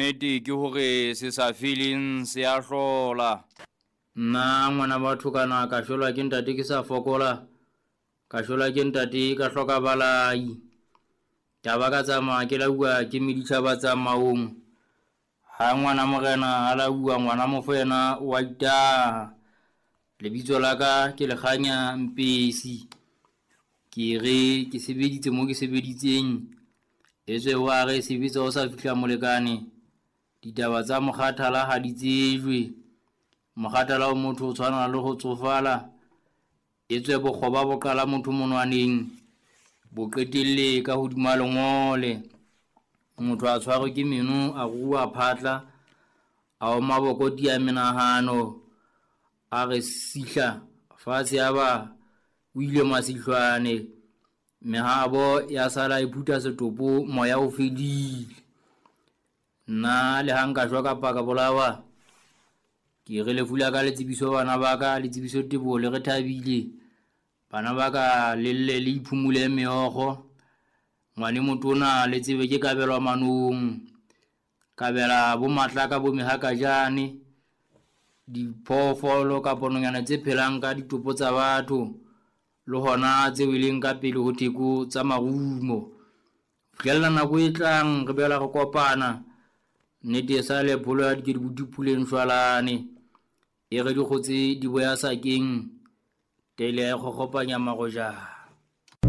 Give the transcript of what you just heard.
Nnete ke hore se sa feleng se a hlola. Nna ngwana batho kana ka shwelwa ke ntate ke sa fokola, ka shwelwa ke ntate ka hloka balai. Ka ba ka tsamaya ke lauwa ke meditjhaba tsamaong. Ha ngwana morena a lauwa ngwana mofo yena wa itaha. Lebitso la ka ke Lekganya Mpesi. Ke re ke sebeditse mo ke sebeditseng. Etswe wa re sebetsa o sa fihla molekane. Ditaba tsa mokgathala ha di tsejwe. Mokgathala o motho o tshwana le ho tsofala. Etswe bokgoba bo qala motho monwaneng, bo qetelle ka hodima lengole. Motho a tshwarwe ke meno, a ruruha phatla, a oma bokoti a menahano, a re sihla fatshe ya ba o ile masihlwane. Mehabo ya sala e phutha setopo, moya o fedile. Nna le ha nka shwa kapa ka bolawa, ke re lefu la ka le tsebiso bana ba ka, le tsebiso Teboho le re thabile. Bana ba ka le lle le iphumule meokgo. Ngwane motona le tsebe ke kabelwa manong, kabela bo matlaka bo mehakajane, diphoofolo kapa nonyana tse phelang ka ditopo tsa batho, le hona tse weleng ka pele ho theko tsa marumo. Fihlella nako e tlang re bela re kopana, nnete e sa le pholo ya dikedibuti puleng shwalane. E re dikgotse di boya sakeng, tele ya e kgokgopanya marojana.